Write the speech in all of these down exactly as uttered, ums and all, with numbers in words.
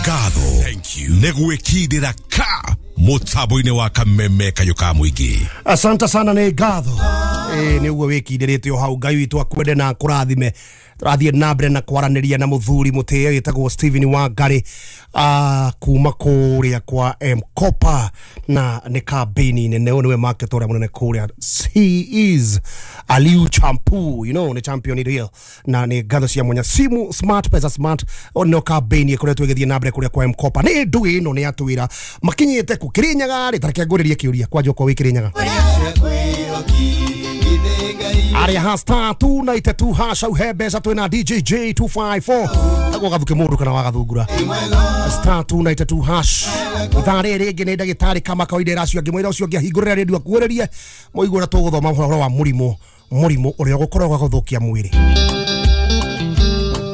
Ngatho nĩ gwĩkindĩra ka mũtambo-inĩ wa Kameme Kayũ ka Mũingĩ. Asante sana, nĩ ngatho. Ĩ nĩ ũguo wĩkindĩrĩte o hau. Ngai witũ akwende na akũrathime. Tũrathiĩ na mbere na kwaranĩria na mũthuri mũtĩe wĩtagwo Stephen Wangari uh, kuma kũrĩa kwa M-Kopa, na nĩ kambĩini nene. Ũyũ nĩwe market ũrĩa mũnene kũrĩa. He is Aliu Champu, you know, nĩ champion real, na nĩ ngatho cia mwanya. Simu Smart, Pesa Smart, no kambĩini ĩkoretwo ĩgĩthiĩ na mbere kũrĩa kwa M-Kopa. Nĩ ndũ ĩno nĩ atwĩra makinyĩte kũ Kĩrĩnyaga rĩ. Tareke ngũrĩrie kĩũria kwanja okorwo wĩ Kĩrĩnyaga arĩa ha star two nine two hash hau he mbeca. Twĩna D J J two five four agwo gathuke mũndũ kana wagathungura star two nine two hash. Ithaa rĩrĩ rĩngĩ nĩ ndagĩtarĩ kama kawaida ĩracio angĩ mwĩra ũcio ũngĩ ahingũrĩre redio akuĩrĩrie mũigue ũrĩa tũgũthoma ũhoro wa mũrimũ mũrimũ ũrĩa ũgũkorwo gũthũkia mwĩrĩ,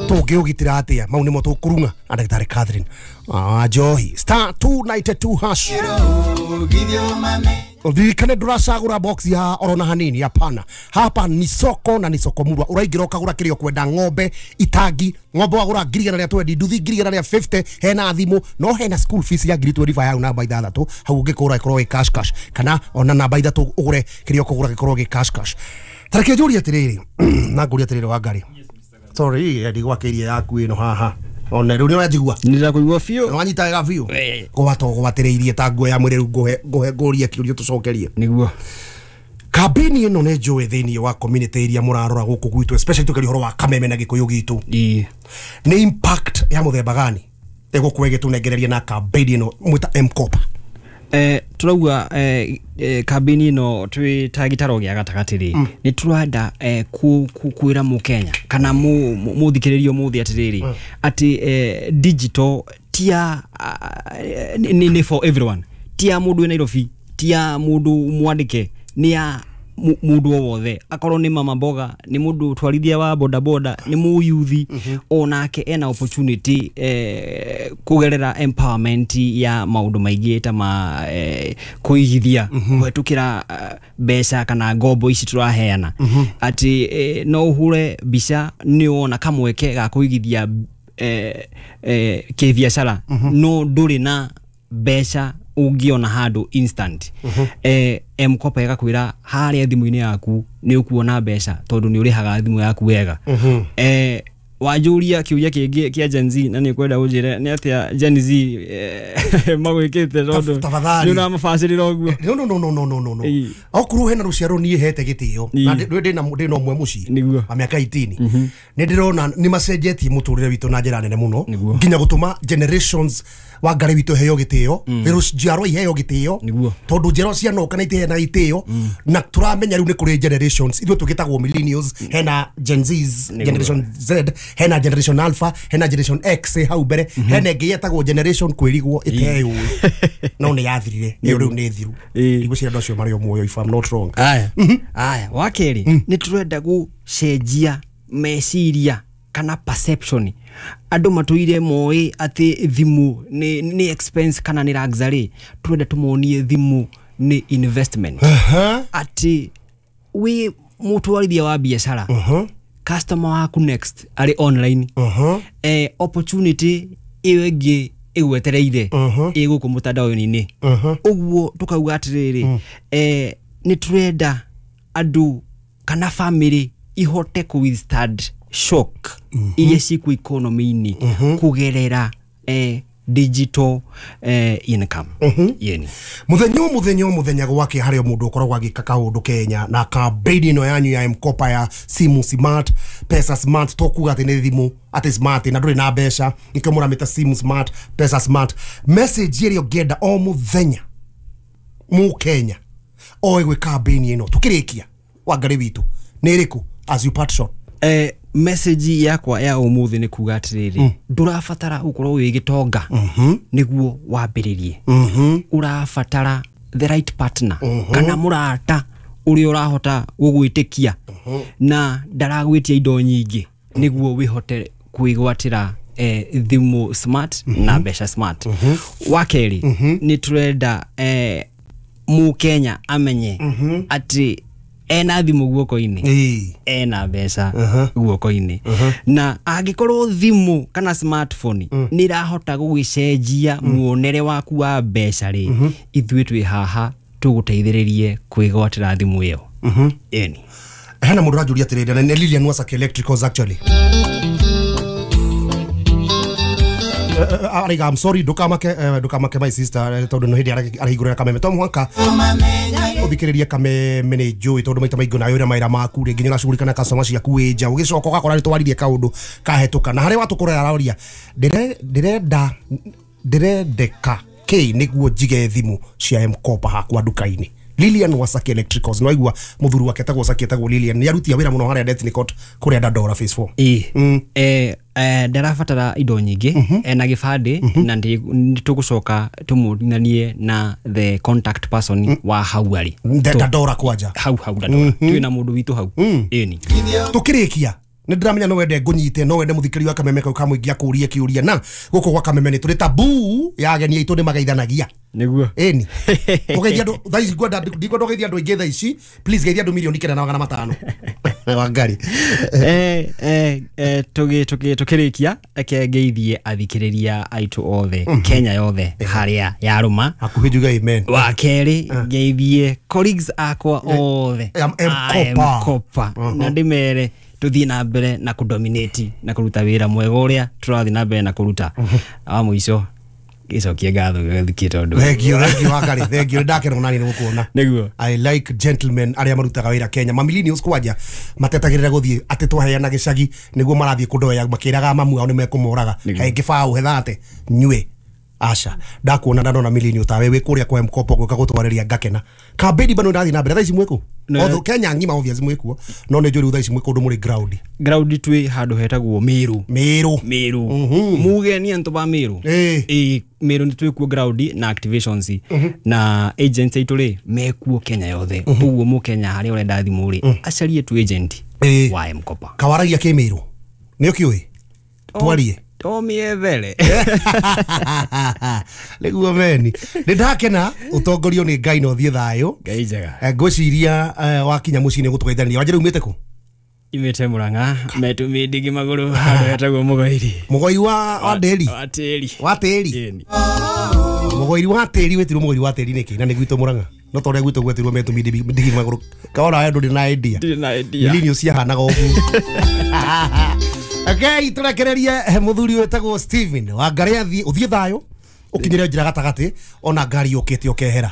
tũngĩũgitĩra atĩa. Mau nĩmo tũkũrung'a na ndagĩtarĩ Catherine ah, Njohi. Star two nine two hash. Uririkane ndũracagũra box ya orona hanini. Hapana, hapa ni soko na ni soko murwa. Ũraingĩra ũkagũra kĩrĩa ũkwenda, ng'ombe itangi, ng'ombe wagũra ngiri igana rĩa twendi, nduthi ngiri igana rĩa fifty, hena thimũ, no hena school fees ya ngiri twenty-five hau namba ithathatũ hau. Ũngĩkũra ĩkorwo ĩ cash cash, kana ona namba ithatũ ũgũre kĩrĩa ũkũgũra gĩkorwo gĩ cash cash. Tareke njũrie atĩrĩrĩ na ngũrie atĩrĩrĩ, Wangari, sorry, ndigwakĩirie yaku ĩno haha ona rĩu nĩ ũranjigua? Nĩndakũigua biũ. Wanyita wega biũ, gwata ũgwatĩrĩirie ta nguo ya mwĩrĩ. Rĩu ngũhe ngũhe ngũrie kĩũria tũcokerie. Nĩguo. Kambĩini ĩno nĩ njũĩ thĩinĩ wa community iria mũrarora gũkũ gwitũ, especially tũkĩaria ũhoro wa Kameme na Gĩkũyũ gitũ, Ĩĩ. nĩ impact ya mũthemba gani ĩgũkorwo ĩgĩtũnengereria na kambĩini ĩno mwĩta M-Kopa? Eh, turauga eh, eh, kambĩini ĩno twĩ ta gĩtaro gĩa gatagatĩ rĩ, nĩ tũrenda eh, ku, ku, kwĩra mũkenya kana mu- mu- mũthikĩrĩria ũmũthĩ atĩrĩrĩ atĩ eh, digital tia uh, nĩ nĩ for everyone, ti ya mũndũ wĩ Nairobi, ti ya mũndũ mwandĩke, nĩ ya mu- mũndũ o wothe, akorwo nĩ mama mboga, nĩ mũndũ twarithia wa bodaboda, nĩ mũyuthi, onake ena opportunity eh, kũgerera empowerment ya maũndũ maingĩ ta ma eh, kũigithia kũhetũkĩra eh, mbeca kana ngombo ici tũraheana, atĩ eh, no ũhure mbica nĩ wona kamweke ga kũigithia eh, eh, kĩbiacara no ndũrĩ na mbeca ũngĩona handũ instant, eh, M-Kopa ĩgakwĩra harĩa thimũ-inĩ yaku nĩ ũkuona mbeca tondũ nĩ ũrĩhaga thimũ yaku wega. eh, wanjũria kĩũria kĩngĩ kĩa Gen Z na nĩ kwenda ũnjĩre nĩ atĩa Gen Z eh, magwĩkĩte tondũ Tafadhali. nĩ ũramabacĩrĩra ũguo. No, no, no, no, no, no, no, no. Ĩĩ. Okorwo hena rũciaro niĩ hete gĩtĩo Ĩĩ. na ndĩ ndĩna ndĩna ũmwe mũciĩ Nĩguo. wa mĩaka eighteen, nĩ ndĩrona nĩ macenjetie mũtũrĩre witũ na njĩra nene mũno, Nĩguo. nginya gũtũma generations wa Ngarĩ witũ heo gĩtĩo, rĩu njiarwa iheo gĩtĩo, Nĩguo. tondũ njiarwa cianoka na itiheana itĩo. Na tũramenya rĩu nĩ kũrĩ generations, ithuĩ tũgĩtagwo millennials, hena Gen Zs, generation Z, hena generation Alpha, hena generation X hau mbere, hena ĩngĩ yetagwo generation kwĩrigwo ĩteyũĩ no nĩ yathirire ĩyo, rĩu nĩ thiru. Ĩĩ. Ndigwĩciria andũ acio marĩ o muoyo, if I'm not wrong. Aya aya, wa kerĩ nĩ tũrenda gũcenjia meciria kana perception. Andũ matũire moĩ atĩ thimũ nĩ, nĩ expense kana nĩ luxury. Tũrenda tũmonie thimũ nĩ investment, atĩ wĩ mũtwarithia wa biacara, customer waku next arĩ online, eh, opportunity ĩyo ĩngĩ ĩgwetereire ĩ gũkũ mũtandao-inĩ. Ũguo tũkauga atĩrĩrĩ, eh, nĩ tũrenda andũ kana family ihote kũ withstand shock iria ciĩkuo economy-inĩ kũgerera eh, digital eh, income yeni. Muthenya o muthenya o muthenya gwake harĩ o mũndũ ũkoragwo agĩka kaũndũ Kenya na campaign ĩno yanyu ya M-Kopa ya simu smart, pesa smart, to kuga atĩ nĩ thimũ atĩ smart na ndũrĩ na mbeca, nĩkĩo mũramĩta simu smart, pesa smart. Message ĩrĩa ũngĩenda o mũthenya mũkenya oe gwĩ campaign ĩno tũkĩrĩkia, Wangarĩ witũ, nĩ ĩrĩkũ as you part short? eh, message yakwa ya ũmũthĩ nĩ kuga atĩrĩrĩ, ndũrabatara gũkorwo wĩ gĩtonga nĩguo wambĩrĩrie. Ũrabatara the right partner kana mũrata ũrĩa ũrahota gũgwĩtĩkia na ndaragwĩtia indo nyingĩ nĩguo wĩhote kwĩgwatĩra eh, thimũ smart na mbeca smart. Wa kerĩ, nĩ tũrenda eh, mũkenya amenye atĩ Ena thimũ guoko-inĩ, Ĩĩ. ena mbeca guoko-inĩ, na angĩkorwo thimũ kana smartphone nĩ ĩrahota gũgĩcenjia muonere waku wa mbeca rĩ, ithuĩ twĩ haha tũgũteithĩrĩrie kwĩgwatĩra thimũ ĩyo. Ĩni. Hena mũndũ ũranjũria atĩrĩrĩ, na nĩ Lilian Wasaki Electricals actually. Araiga, I'm sorry, ndukamake, eh, ndukamake my sister, eh, tondũ no hĩndĩ arahingũrĩra kameme to mũhaka ũthikĩrĩrie kameme nĩ njũĩ, tondũ maita maingĩ nawe ũrĩa mawĩra maku rĩngĩ nĩ ũracugurika na customer ciaku wĩ nja, ũgĩcoka ũgakora nĩ twaririe kaũndũ kahĩtũka, na harĩa watũkorera aroria ndĩrenda ndĩrendeka kĩ nĩguo njige thimũ cia M-Kopa hakwa nduka-inĩ. Lilian Wasaki Electricals, no aigua muthuri wake etagwo Wasaki, etagwo Lilian, nĩ arutia wĩra mũno harĩa Detnicot kũrĩa Dandora phase four. Ĩĩ. Eh, eh, ndarabatara indo nyingĩ, ena gĩbandĩ, na nĩ tũgũcoka tũmũnanie na the contact person wa hau arĩ Dandora kwanja hau hau Dandora, twĩna mũndũ witũ hau. Ĩni. Tũkĩrĩkia nĩ ndĩramenya no wende ngũnyite, no wende mũthikĩri wa kameme kau kamũingĩ akũrie kĩũria, na gũkũ gwa kameme nĩ tũrĩ tabu ya ageni aitũ nĩ magaithanagia. Nĩguo. Ĩni ũgeithia andũ thaa ici, ngwenda ndikwenda ũgeithia andũ aingĩ thaa ici, please geithia andũ mirioni kenda na magana matano. Wangari. Eh, eh, eh, tũgĩ tũgĩ tũkĩrĩkia reke ngeithie athikĩrĩria aitũ othe Kenya yothe harĩa yarũma. Hakuhĩ njuge amen. Wa kerĩ ngeithie colleagues akwa othe M- a M-Kopa. M-Kopa, na ndĩmere tũthiĩ na mbere na kũdominate na kũruta wĩra mwega ũrĩa tũrathiĩ na mbere na kũruta. Wa mũico gĩcokie ngatho gĩgĩthikie tondũ Thank you, thank you Wangari, thank you, ndakena mũno nĩ gũkuona. Nĩguo. I like gentlemen arĩa marutaga wĩra Kenya. Ma millennials kwanja matetagĩrĩra gũthiĩ atĩ twaheana gĩcagi nĩguo marathiĩ kũndoya makĩraga mamu ao nĩ mekũmoraga. Nĩguo. He ngĩbaũ hethate nyue. Aca ndakuona ndanona millennial tawe wĩ kũrĩa kwa M-Kopa gwĩka gũtwarĩria ngakena. Kambĩni bado ndathiĩ na mbere thaa ici mwĩkũ? Ne- Although Kenya ng'ima obvious mwĩkuo, no nĩ njũĩ rĩu thaa ici mwĩ kũndũ mũrĩ ground. Ground twĩ handũ hetagwo Meru. Meru. Meru. Muge ni antũ ba Meru. Ĩĩ. Ĩĩ, Meru nĩ twĩkuo ground na activations, na agents aitũ rĩ mekuo Kenya yothe, ũguo mũkenya harĩa ũrenda thimũ rĩ acarie tu agent Ĩĩ. wa M-Kopa. Kawaragia kĩ Meru? Nĩ ũkĩũĩ? Twarie. To mĩethere. Nĩguo meni nĩ ndakena ũtongorio nĩ Ngai na ũthiĩ thayũ. Ngai njega. Eh, ngwĩciria eh, wakinya mũciĩ nĩ gũtũgeithania. Wanja rĩu umĩte kũ? Imĩte Mũrang'a metũmĩ ndigi magũrũ handũ hetagwo Mũgoiri. Mũgoi wa wa ndĩri. Wa tĩri. Wa tĩri. Ĩni. Mũgoi wa tĩri wĩtirwo mũgoi wa tĩri nĩkĩ na nĩ gwitũ Mũrang'a, no ta ũrĩa gwitũ gwetirwo metũmĩ ndigi magũrũ kaona we ndũrĩ na idea. Ndirĩ na idea. Millennials ciahanaga ũguo. Okay, tũrekererie mũthuri wĩtagwo Steven Wangari athiĩ, ũthiĩ thayũ ũkinyĩre njĩra gatagatĩ ona ngari yũkĩte ũkehera.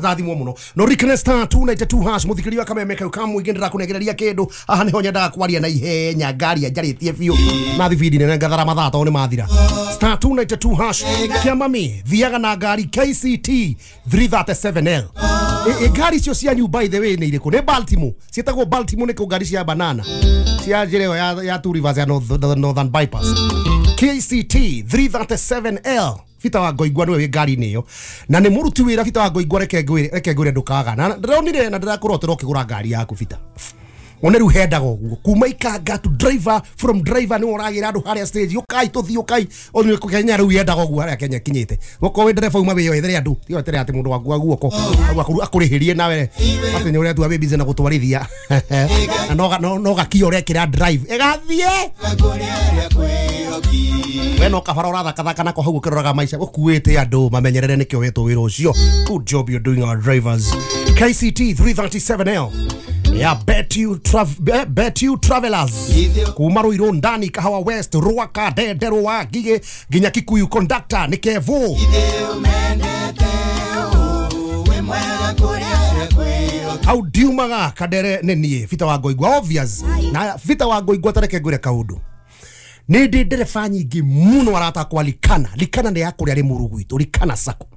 Tathimwo mũno no rikene star two nine two hash mũthikĩria wa kameme kau kamũingĩ ndĩrakũnengereria kĩndũ haha nĩho nyendaga kwaria na ihenya ngari njarĩtie biũ na thibindi nene ngathara mathaa tondũ nĩ mathira. Star two nine two hash kĩa mami thiaga na ngari K C T three thirty-seven L. E, e, ngari icio cianyu by the way nĩ irĩkũ? Nĩ Baltimore, ciĩtagwo Baltimore nĩkũ ngari cia banana cia njĩra ĩyo ya, ya Two Rivers ya North, Northern Bypass. K C T three thirty-seven L Bita wa Ngoingwa nĩwe wĩ ngari-inĩ ĩyo na nĩ mũruti wĩra. Bita wa Ngoingwa, reke ngwĩre, reke ngwĩre ndũkaga na ndĩronire na ndĩrakũrotera ũkĩgũra ngari yaku Bita. One rĩu hendaga ũguo kuma ikanga to driver, from driver nĩwe ũragĩra andũ harĩa stage, ũkai tũthiĩ ũkai one Kenya rĩu yendaga ũguo harĩa Kenya kinyĩte gũkorwo wĩ ndereba uma wĩyoethere andũ tiga wetere atĩ mũndũ waku wa guoko akũrĩhĩrie nawe atĩ nĩ ũretua wĩ busy na gũtwarithia na no no gakio ũrekĩra drive ĩgathiĩ we no kabara ũrathakathaka nako hau ũkĩroraga maica ũkuĩte andũ mamenyerere nĩkĩo wetwo wĩra ũcio. Good job you're doing our drivers. K C T three thirty-seven L ya bet you trav bet you travelers kuma Ruiru ndani Kahawa West Ruaka Ndenderwa Ngigĩ nginya Kikuyu conductor nĩ Kevo. Hau ndiumaga Kadere nĩ niĩ Bita wa Ngoingwa obvious na Bita wa Ngoingwa tareke ngwĩre kaũndũ nĩ ndĩ ndereba nyingĩ mũno aratakwa Likana. Likana nĩ ya kũrĩa Rĩmuru gwitũ, Likana Sacco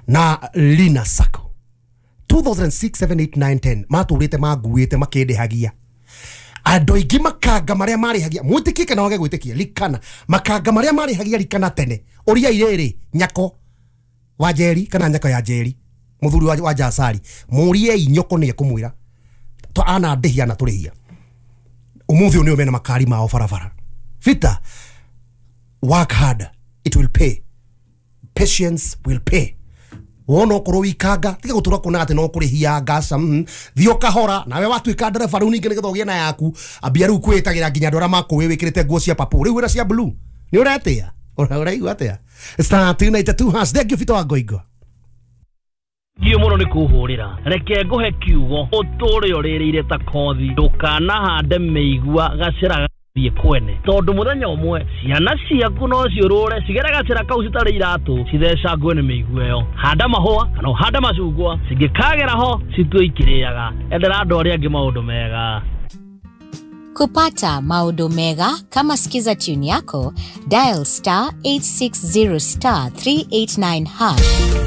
na Lina Sacco two thousand six, seven, eight, nine, ten matũrĩte manguĩte makĩndĩhagia andũ aingĩ makanga marĩa marĩhagia mwĩtĩkie kana wage gwĩtĩkia Likana makanga marĩa marĩhagia Likana tene ũria irĩrĩ Nyako wa Njeri kana Nyako ya Njeri mũthuri wa, wa Jasari mũriei Nyoko nĩ ekũmwĩra ana ndĩhia na tũrĩhia ũmũthĩ ũyũ nĩo mena makari mao barabara. Vita, work hard, it will pay. Patience will pay. Wona okorwo wikanga tiga gutura kuona ati no kurihia ngaca mm. Thio kahora nawe watuika ndereba riu ningi nigetha ugie na yaku ambia riu kwitagira nginya andu aria makuwi wikirite nguo cia papo riu wira cia blue ni uretia uraigua atia star two nine two hash. Thank you Fito wa Ngoingo. Ngio muno ni kuhurira reke nguhe kiugo uture uririire ta kothi ndukanahande miigua gacira thiĩ kwene tondu muthenya umwe ciana ciaku no ciũrũre cigere gacĩra kau citarĩ iratũ cithecangwe nĩ mĩigua ĩyo. Handa mahũa kana ũhande macungwa cingĩkagera ho citue ikĩrĩaga. Endera andũ arĩa angĩ maũndũ mega. Kupata maodo mega kama Skiza tune yako, dial star eight six zero star three eight nine hash.